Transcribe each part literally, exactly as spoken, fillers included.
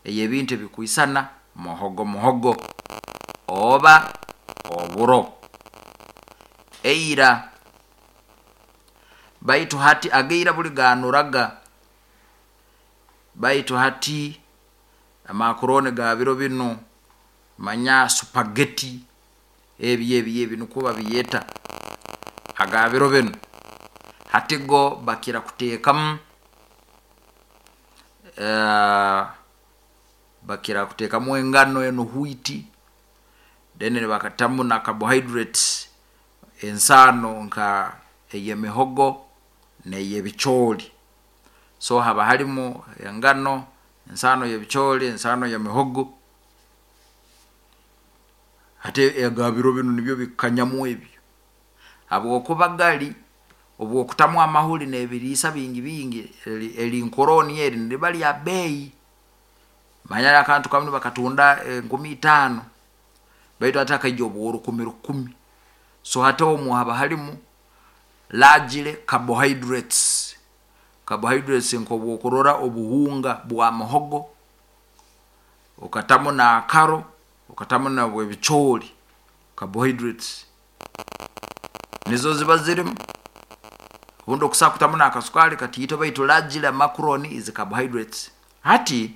Ey'ebintu ebikwisana muhogo muhogo oba oburo. Eira, baitu hati agaira buli gaanuraga, baitu hati amakuroni ga biro binu, manya spaghetti, ebi ebi ebi nukwo babyeta aga biro binu. Hati go bakira kuteekamu bakira kuteekamu engano enu wheat, then nibakatamu na carbohydrates, ensaano nka eyemihogo neyebicooli. So haba harumu engano, ensaano yebicooli, ensaano yemihogo. Hati aga biro binu nibyo bikukanyamu ebi, habwokuba gali obu okutamu amahuri nebiriisa bingi bingi, erinkoroni eri niriba rya beeyi. Manya akantu kamu nibakatunda enkumi itaano, baitu hati hakaija obworukumi rukumi. So hati omu haba harumu largely carbohydrates, carbohydrates nkobu okurora obuhunga bwa muhogo, okatamu naakaro, okatamu nobwebicooli, carbohydrates nizo ziba zirimu. Obundi okusobola kutamu nakasukaari katiito, baitu largely macaroni is carbohydrates. Hati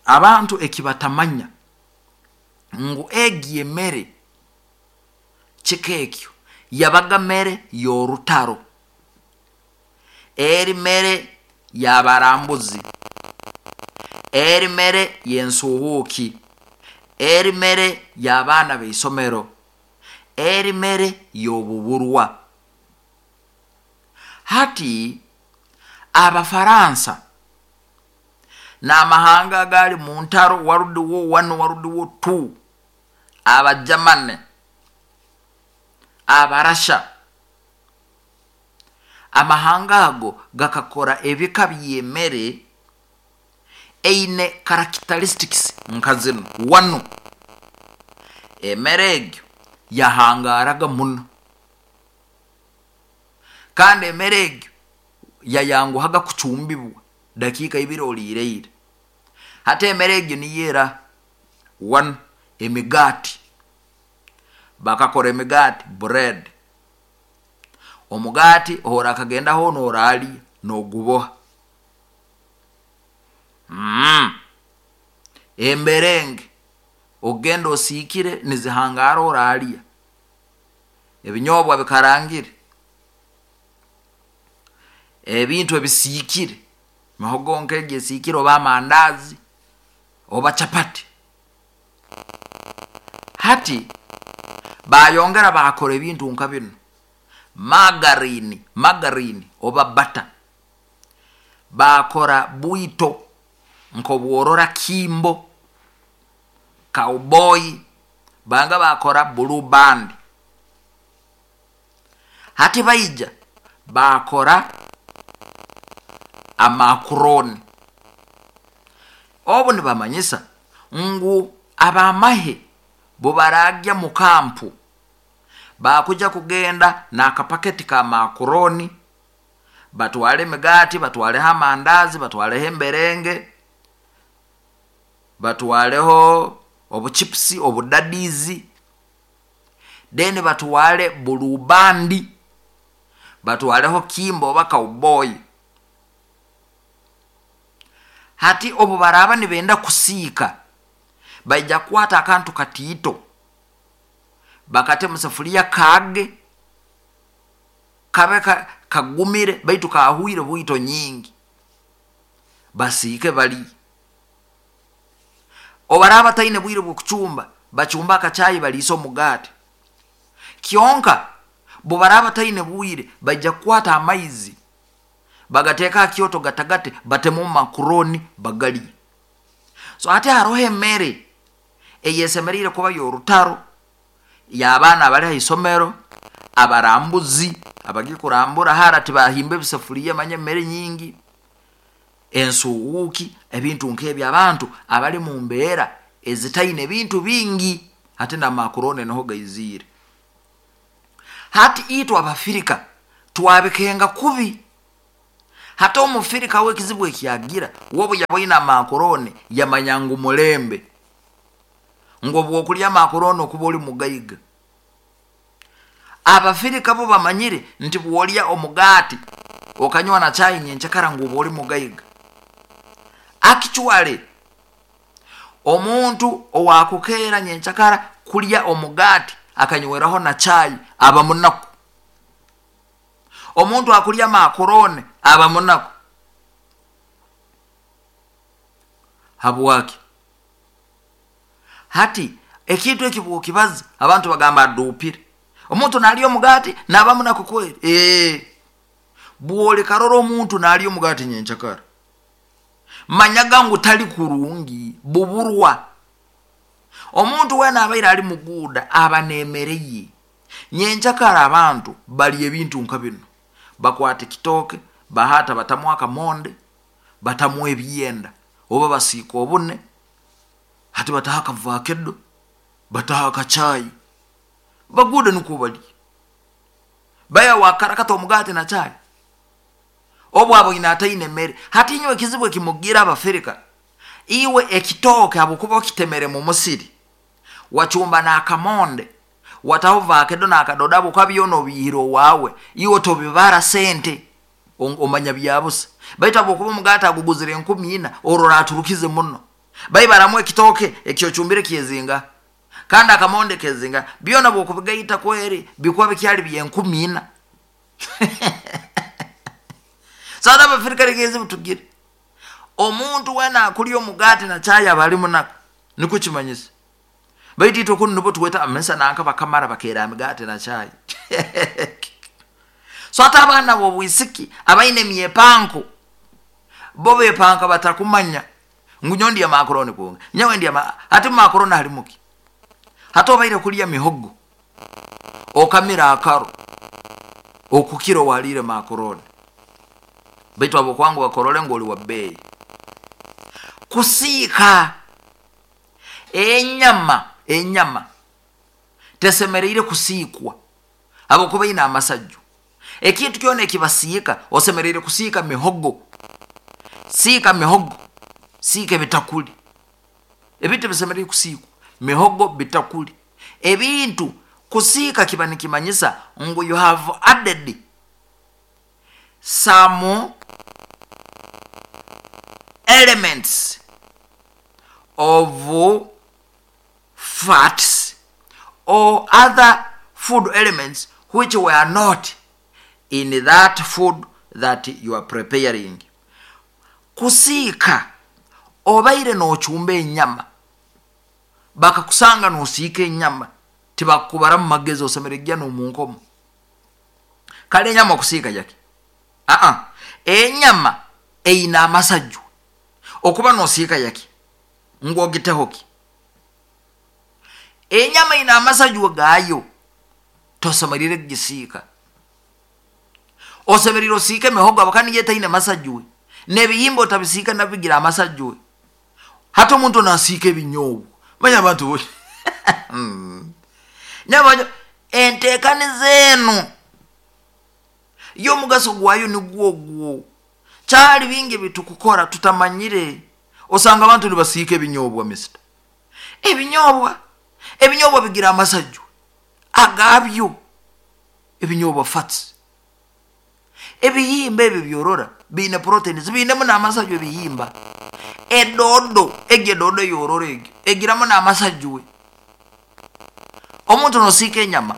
abantu ekibatamanya ngu egi emere kika ekyo yabaga mere y'orutaro, eri mere y'abarambuzi, eri mere y'ensuuhuuki, eri mere y'abaana b'isomero, eri mere y'obuburwa. Hati Abafaransa n'amahanga agaali mu ntaro, World War one, World War two, Abajamane, Abarasha, amahanga ago gakakora ebika by'emere eine characteristics nka zinu. Wanu emere egyo yahangaaraga muno, kandi emere egyo yayanguhaga kucumbibwa, dakiika ibiri oliireire. Hati emere egyo niyo era? One, emigaati. Bakakora emigaati, bread. Omugaati obu orakagendaho nooraalya noguboha. mm. Emberenge ogenda osiikire nizihangaara oraalya. Ebinyobwa bikarangire, ebintu ebisiikire, mihogo nk'egi esiikire, oba amandaazi oba capati. Hati bayongera bakora ebintu nka binu, margarine, margarine oba butter. Bakora bwito nk'obworora Kimbo, Cowboy, banga bakora Blue Band. Hati baija bakora amakuroni. Obu nibamanyisa ngu abamahe bubaragya mu kampu, bakuja kugenda n'akapaketi ka makuroni, batwale emigaati, batwaleho amandazi, batwaleho emberenge, batwaleho obuchipusi, obudadizi, then batwale Blue Band, batwaleho Kimbo oba Cowboy. Hati obu baraaba nibenda kusiika, baija kukwata akantu katiito bakate mu safuliya, kaage kabe kagumire baitu kahwire bwito nyingi, basiike bali. Obaraaba bataine bwire bw'okucumba, bacumba akacaayi baliise omugaati. Kyonka bubaraaba bataine bwire, baija kukwata amaizi bagateeka ha kyoto gatagate, batemu makuroni bagalye. So hati haroho emere eyesemeriire kuba y'orutaro, y'abaana abali ha isomero, abarambuzi abagiye kurambura hara, tibahimba ebisafuliya, manya emere nyingi, ensuuhuuki, ebintu nk'ebi, abantu abali mu mbeera ezitaine ebintu bingi. Hati n'amakuroni niho gaiziire. Hati itwe Abafirika twabikenga kubi. Hata omufirika we ekizibu ekyagira wobu yaboine amakorone yamanya ngu mulembe, ngu obwokulya amakorone okuba oli mugaiga. Abafirika bo bamanyire nti bwolya omugaati okanywa na chai nyenchakara ngu oba oli mugaiga. Actually omuntu owakukeera nyenchakara kulya omugaati akanyweraho na chai aba munaku. Omuntu akulya makorone aba munaku. Habwaki? Hati ekintu eki bwokibaza abantu bagamba aduupire. Omuntu nalya omugaati naba munaku kweri. Ee, bwolikarora omuntu nalya omugaati nyenchakara, manyaga ngu tali kurungi, buburwa. Omuntu wena abaire ali muguuda aba nemere ye. Nyenchakara abantu balya ebintu nka bino, bakwata ekitooke bahata batamu akamonde, batamu ebyenda, oba basiika obune, hati bataho akavakedo, bataho akachai, baguude nukwo balya. Baya wakarakata omugaati na chai obu aboine ataine emere. Hati inywe ekizibu ekimugira abafirika, iwe ekitooke habwokuba okitemere mu musiri, wacumba n'akamonde, wataho vakedo n'akadodo, habwokuba byona obiihire owaawe, iwe tobibara sente, omanya byabusa. Baitu habwokuba omugaati aguguzire enkumi ina, orora aturukize muno. Baibaramu ekitooke ekyocumbire kyezinga, kandi akamonde kezinga, byona bwokubigaita kweri bikuba bikyali byenkumi ina. Sasa abafirika ekizibu tugire, omuntu wena akulya omugaati na chai aba ali munaku, nikwo kimanyisa. Baitu itwe kunu nibo tuweta amesa nanka bakamara bakeera emigaati na chai. So ate abaana b'obwisiki abaine emyepanko bo bepanka batakumanya ngu nyowe ndya makoroni kwonka, nyowe ndya ma-, hati makoroni halimu ki? Hati obaire kulya mihogo okamira akaro okukira owaliire makoroni, baitu abokwangu bakorole ngu oli wa bbeeyi. Kusiika enyama, enyama tesemereire kusiikwa habwokuba ine amasaju. Ekintu kyona ekibasiika osemereire kusiika mihogo, siika mihogo, siika ebitakuli. Ebintu bisemereire kusiikwa mihogo, bitakuli. Ebintu kusiika kiba nikimanyisa ngu you have added some elements of fats or other food elements which were not in that food that you are preparing. Kusiika obaire nochumba enyama, bakakusanga nosiika enyama, tibakubara mu magezi, osemereire n'omunkomo. Kale enyama okusiika yaki? Aa, enyama eyina amasaju, okuba nosiika yaki? Ngwogiteho ki? Enyama eyina amasaju gaayo, tosemereire kugisiika. Osemereire osiike emihogo abakani yetaine masaju, n'ebihimba otabisiika nabigira amasaju. Hati omuntu nasiika ebinyoobwa, manya abantu bo nyabanyo enteekaniza eno y'omugaso gwayo nigwo ogwo. Kyali bingi bitukukora tutamanyire. Osanga abantu nibasiika ebinyoobwa, misita ebinyoobwa, ebinyoobwa bigira amasaju agabyo, ebinyoobwa fats. Ebihimba ebyo byorora biine proteins, biinemu n'amasaju ebihimba. Edodo egyo, edodo yorora egyo egiramu n'amasaju. Omuntu nosiika enyama,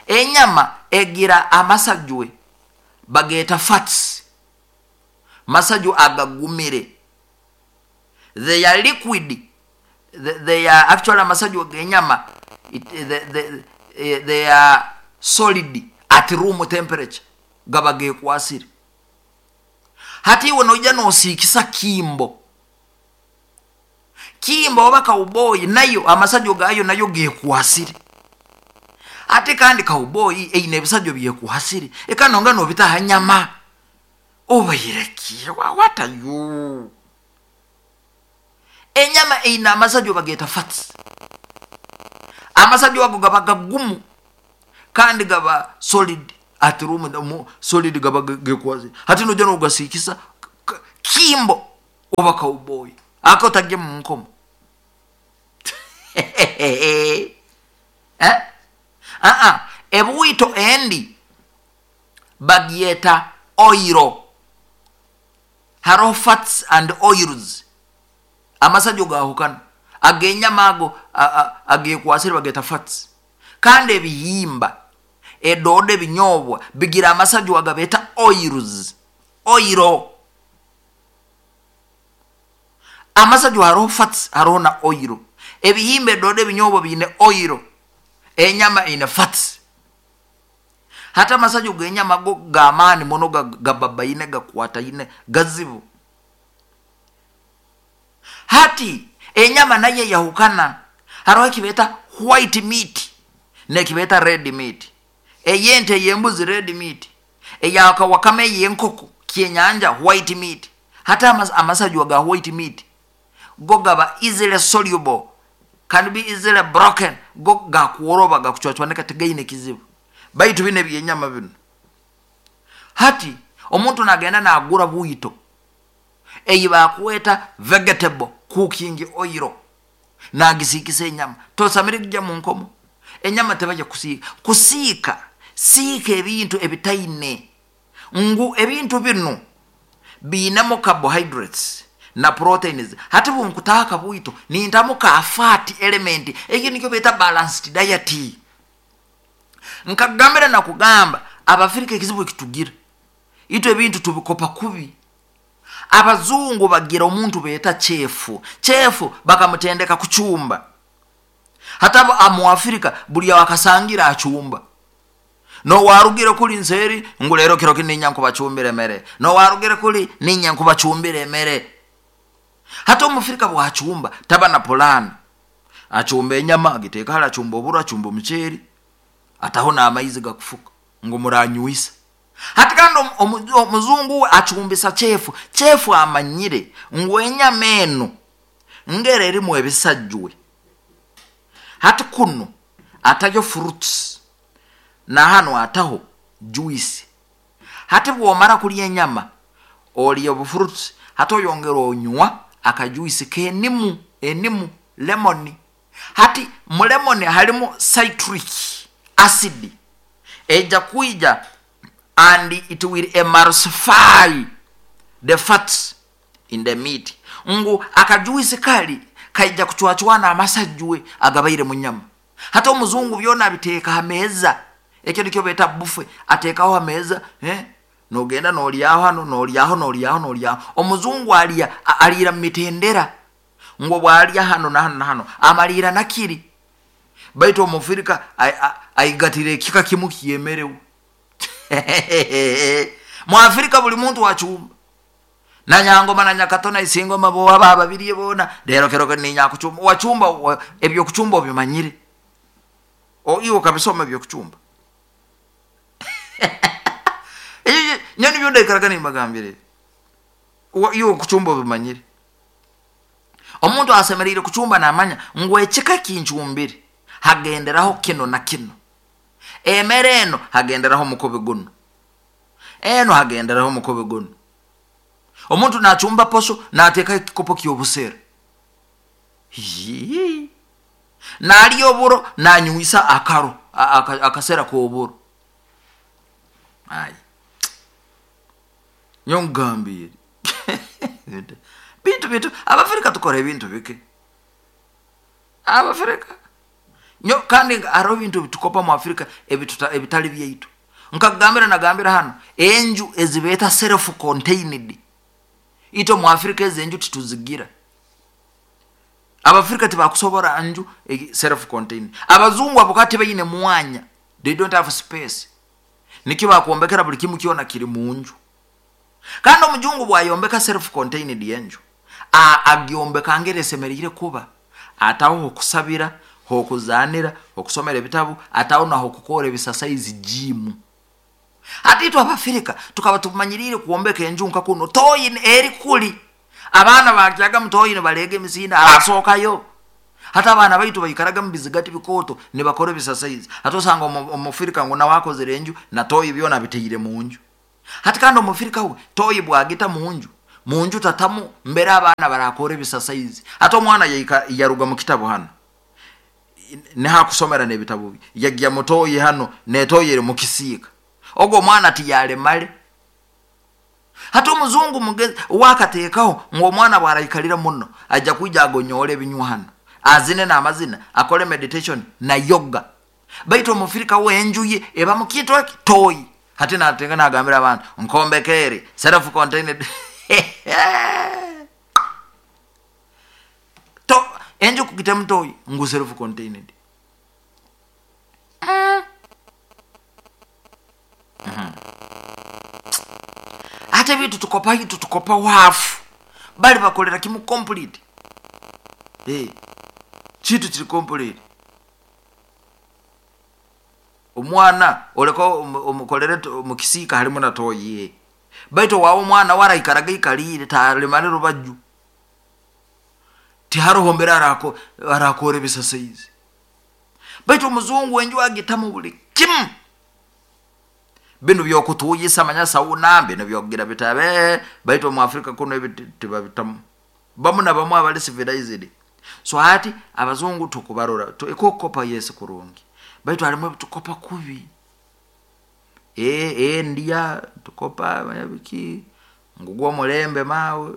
enyama egira amasaju bageeta fats, masaju agagumire, they are liquid, they, they are actually amasaju g'enyama, they, they, they are solid at room temperature, gaba gekwasire. Hati iwe noija nosiikisa kimbo, kimbo oba cowboy, nayo amasaju gayo nayo gekwasire. Ate kandi cowboy eyina ebisajjo byekuhasire, ekanonga nobitaha nyama, obaireki what are you? Enyama eyina amasajjo bageeta fats, amasajjo ago gaba gagumu kandi gaba solid. Ati room solid gaba gekwaze. Hati nojana ugasikisa kimbo oba cowboy. Ako tagye mu nkomo. Eh? Ah ah, ebwito endi bagyeta oiro. Haro fats and oils. Amasajo gahukana. Agenyama ago agekwasira bageta fats. Kandi ebihimba edode ebinyobwa bigira amasajo agabeta oils. Oiro. Amasajo haro fats haro na oiro. Ebihimba edode ebinyobwa bine oiro. Enyama ine fats. Hata masajo genyama go gamani mono gababaine gakwataine gazibu. Hati enyama naye yahukana. Haro kibeta white meat ne kibeta red meat. Eyente yembuzi red meat. Eyaka wakame yenkoko kyenyanja white meat. Hata amas, amasajo ga white meat go gaba easily soluble, can be easily broken, go gakuoroba gakuchwachwaneka tegaine kizibu. Baitu bine byenyama bino. Hati omuntu nagenda nagura bwito eyi bakweta vegetable cooking oil nagisikisa enyama tosamire kujja mu nkomo. Enyama tebaje kusiika kusiika siika ebintu ebitaine ngu ebintu bino binamo carbohydrates na proteins. Hati bunkutaka bwito nintamu ka fat element eki nikyo beta balanced diet. Nkagambira na kugamba Abafrika ekizibu kitugira ito ebintu tubikopa kubi. Abazungu bagira omuntu beta chefu chefu bakamutendeka kuchumba. Hata amu Afrika buli wakasangira achumba. No warugire kuli nseri ngulero kiro kininya nkubachumbire mere. No warugire kuli ninya nkubachumbire mere. Hata Omufrika bwachumba taba na polana. Achumba enyama agiteka hala, achumba oburo, achumba omuceeri, ataho n'amaizi gakufuka ngo muranyuisa. Hati kandi omuzungu achumbisa chefu chefu amanyire ngo enyama eno ngere erimu ebisajjwe. Hati kuno atayo fruits na hano ataho juice. Hati bwomara kulya enyama olya obu fruits, hati oyongera onywa akajuice k'enimu, enimu lemon. Hati mu lemon halimu citric acid eja kuija and it will emulsify the fats in the meat. Ngu akajuice kali kaija kuchwachwana amasajjwe agabaire mu nyama. Hata omuzungu byona abiteeka ha meza. Ekyo nikyo beta buffet, ateekaho ha meza, eh? Nogenda nolyaho hano, nolyaho, nolyaho, nolyaho. Omuzungu alya, alira mitendera. Ngo bwalya hano na hano na hano, amalira nakiri. Baitu Omufrika aigatire ekika kimu kiyemerewe. Mu Afrika buli muntu wachumba. Na nyangoma na nyakatona isingoma bo aba babiriye bona lero kero ninya kuchumba wachumba ebyo kuchumba obimanyire. O iwo kabisoma ebyo kuchumba. Eyo nyani byonda ikaragana imagambire. Iwo kuchumba obimanyire. Omuntu asemerire kuchumba namanya ngo ekika kinchumbire hagenderaho kino na kino. Emere eno hagenderaho mukobe guno. Eno hagenderaho mukobe guno. Omuntu nachumba posho nateka ekikopo ky'obusera. Hii. Nali oburo nanyuisa akaro akasera k'oburo. Ai. Nyongambire. Bintu bintu Abafrika tukora ebintu bike. Abafrika nyo kandi aro bintu tukopa mu Afrika ebituta ebitali byaitu. Nkagambira nagambira hano enju ezibeta self contained. Ito mu Afrika ezenju tituzigira. Abafrika tibakusobora anju self contained. Abazungu abokati bayine mwanya. They don't have space. Nikyo bakuombekera buli kimu kiona kiri munju. Kandi omujungu bwayombeka self contained yenju. A agyombeka ngere semerire kuba. Ataho okusabira, hokuzanira, okusomera ebitabu, ataho na hokukora ebisasaizi gym. Hati itu Abafrika tukaba tumanyirire kuombeka enju nka kuno toyi eri kuli. Abaana bakyaga mutoyi ne balege emisinda asokayo. Hata abaana baitu baikaraga mu bizigati bikooto nibakora ebisasaizi. Hati osanga omufirika ngu nawe akozere enju na toyi byona abiteire mu nju. Hati kandi omufirika we toyi bwagita mu nju, mu nju tatamu mbere abaana barakora ebisasaizi. Hati omwana yaruga mu kitabu hano nihakusomera n'ebitabu bye, yagya mu toyi hano n'etoyi eri mu kisiika, ogwo omwana tiyalemale. Hati omuzungu mugezi wakateekaho ngu omwana bwaraikalira muno ajja kwija agonyole ebinywa hano, azine n'amazina, akole meditation na yoga. Baitu omufirika we enju ye eba mu kintu eki toyi. Hati natenga nagambira abantu nkombekere self contained to enju kugitemu toyi ngu self contained. Mm. Mm-hmm. Ate bitu tukopa hitu tukopa wafu bali bakolera kimu complete. Eh, chitu chiri complete. Omwana oleko omukolere mukisika halimu na toyi. Baitu wawo omwana waraikaraga ikalire talemale rubaju. Tiharoho mbere arako arakore bisasaizi. Baitu omuzungu enju agitamu buli kimu. Bino byokutuyisa manya sauna bino byokugira bitabe baitu mu Afrika kuno ebitibabitamu. Bamu na bamu abali civilized. So hati abazungu tukubarora tukokopa Yesu kurungi. Baitu halimu tukopa kubi. Eh eh ndia tukopa biki ngugwo mulembe mawe.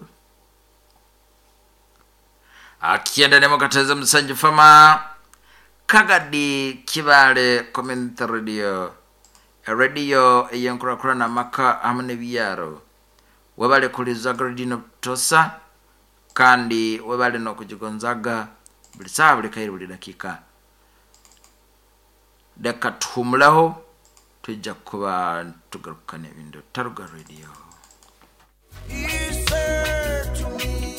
Akienda nemo kateza msanji fama Kagadi Kibale Community Radio. Radio eyenkura na maka hamwe n'ebyaro. Webale kulizaga radio tosa kandi webale no kujigonzaga buli saa buli kairi buli dakika. Deka tuhumulaho tujja kuba tugarukana ebintu Taruga Radio. He said to me,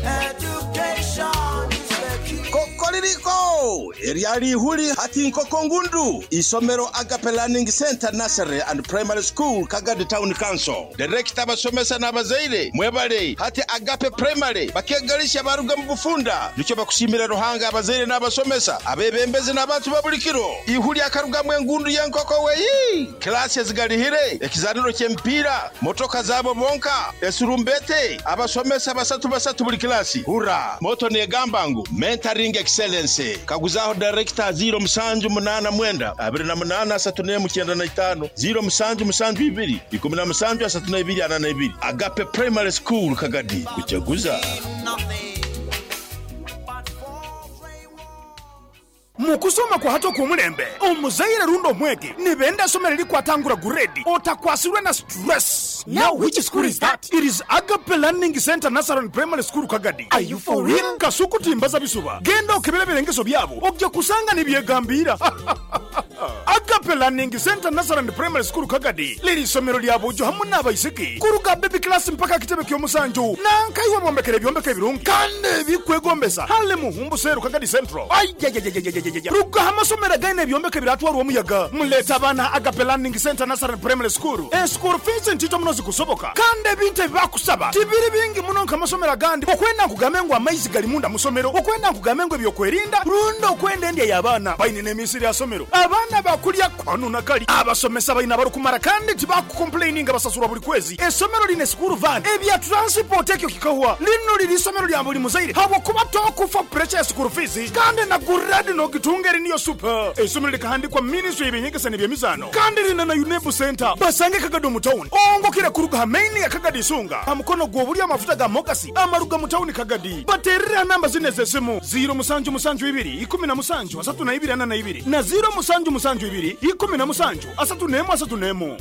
education is the key. Kokoririko eryali ihuli hati nkoko ngundu isomero Agape Learning Center Nursery and Primary School Kagadi Town Council. Director abasomesa n'abazaire mwebale hati Agape Primary bakegalisha baruga mu bufunda nicyo bakushimira Ruhanga abazaire n'abasomesa abebembezi n'abantu babulikiro ihuli akarugamwe engundu y'enkoko weyi klasi ezigalihire ekizaniro ky'emipiira motoka zabo bonka esurumbete abasomesa basatu basatu buli klasi hura moto negamba ngu mentoring excellence kaguzaho director zero musanju munana mwenda abiri na munana asatu n'emu kyenda na itaano zero musanju musanju ibiri ikumi na musanju asatu na ibiri ana na ibiri. Agape Primary School Kagadi kuchaguza. Mukusoma kwa hato kumulembe omuzaire rundo mwege nibenda somero likwatangura guredi otakwasirwe na stress. Now which school is that? It is Agape Learning Center Nursery and Primary School Kagadi. Are you for real? Kasuku timbaza bisuba genda okebera birengeso byabo ojja kusanga nibyegambira. Agape Learning Center Nursery and Primary School Kagadi liri somero lya bujo hamwe n'abaisiki kuruga baby class mpaka kitebe ky'omusanju nankaiwe bombekere byombeke birungi kandi bikwegombesa hale muhumbu seru Kagadi Central. Ayayayayayayaya ruga amasomero gaine ebyombeke biratwarwa omuyaga muleta abaana Agape Learning Center Nursery and Primary School. E school fees ntito muno zikusoboka kandi ebintu ebibakusaba tibiri bingi muno nk'amasomero agandi. Okwenda nkugambe ngu amaizi gali munda musomero, okwenda nkugambe ngu ebyokwerinda rundi okwenda endya y'abaana baine n'emisiri ya somero abaana bakulya kwanu nakali abasomesa baina barukumara kandi tibakukomplaininga basasurwa buli kwezi. Esomero line school van ebya transport ekyo kikahwa lino liri isomero lya buli muzaire habwokuba tokufa pressure ya school fees kandi na guradi nogitunga eri niyo super. Esomero likahandikwa ministry y'ebyenyegesa n'ebyemizaano kandi lina na UNEB center basange Kagadi mu town ongokera kuruga hamaini ya Kagadi Isunga amukono gw'obuli amafuta ga mogasi amaruga mu town Kagadi. Baterera namba zine z'esimu zero musanju musanju ibiri ikumi na musanju asatu na ibiri ana na ibiri na zero musanju musanju ibiri ikumi na musanju asatu n'emu asatu n'emu.